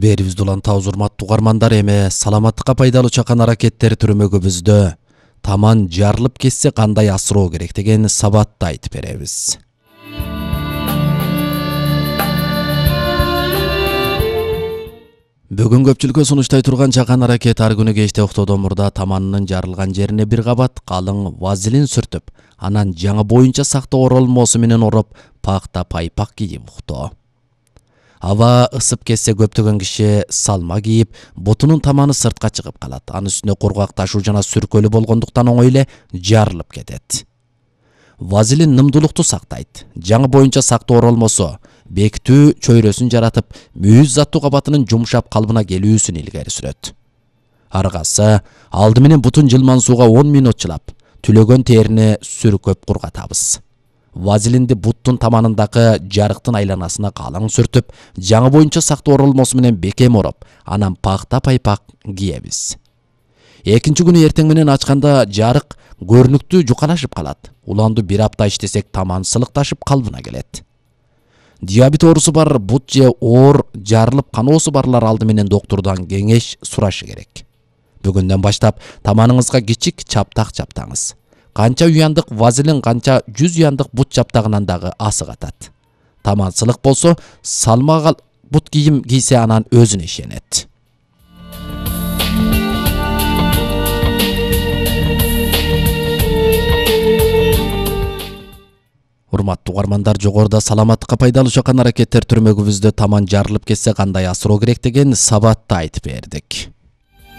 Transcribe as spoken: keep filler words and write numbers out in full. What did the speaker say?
Берибизди улантабыз урматтуу угармандар, эми саламаттыкка пайдалуу чакан аракеттер түрмөгүбүздө таман жарылып кетсе кандай асыроо керек деген сабатты айтып беребиз. Бүгүн көпчүлүккө сунуштай турган чакан аракет ар күнү кечте октоодон мурда таманынын жарылган жерине бир кабат калың вазелин сүртүп, анан жаңы боюнча сактоо оролмосу менен ороп, пакта пайпак кийип уктоо. Аба ысып кетсе көптөгөн киши салма кийип, бутунун таманы сыртка чыгып калат. Анын үстүнө кургак ташуу жана сүркөлүү болгондуктан оңой эле жарылып кетет. Вазелин нымдуулукту сактайт. Жаңы боюнча сактоо оролмосу бекитүү чөйрөсүн жаратып, мүйүз заттуу кабатынын жумшап калыбына келүүсүн илгери сүрөт. Аргасы алды менен бутун жылман сууга он мүнөт чылап, түлөгөн терини сүркөп кургатабыз. Вазелинди буттун таманындагы жарыктын айланасына калың сүртүп, жаңы боюнча сактоо оролмосу менен бекем ороп, анан пакта пайпак кийебиз. Экинчи күнү эртең менен ачканда жарык көрүнүктүү жукалашып калат. Уланду бир апта иштесек таман сылыкташып калыбына келет. Диабет оорусу бар, бут же оор жарылып каноосу барлар алды менен доктурдан кеңеш сурашы керек. Бүгүндөн баштап таманыңызга кичик чаптак чаптаңыз. Канча уяндык вазелин, канча жүз уяндык бут чаптагынан дагы асык атат. Таман сылык болсо, салмага бут кийим кийсе анан өзүнө ишенет. Урматтуу угармандар, жогоруда саламаттыкка пайдалуу чакан аракеттер түрмөгүбүздө таман жарылып кетсе кандай асыроо керек деген сабатты айтып бердик.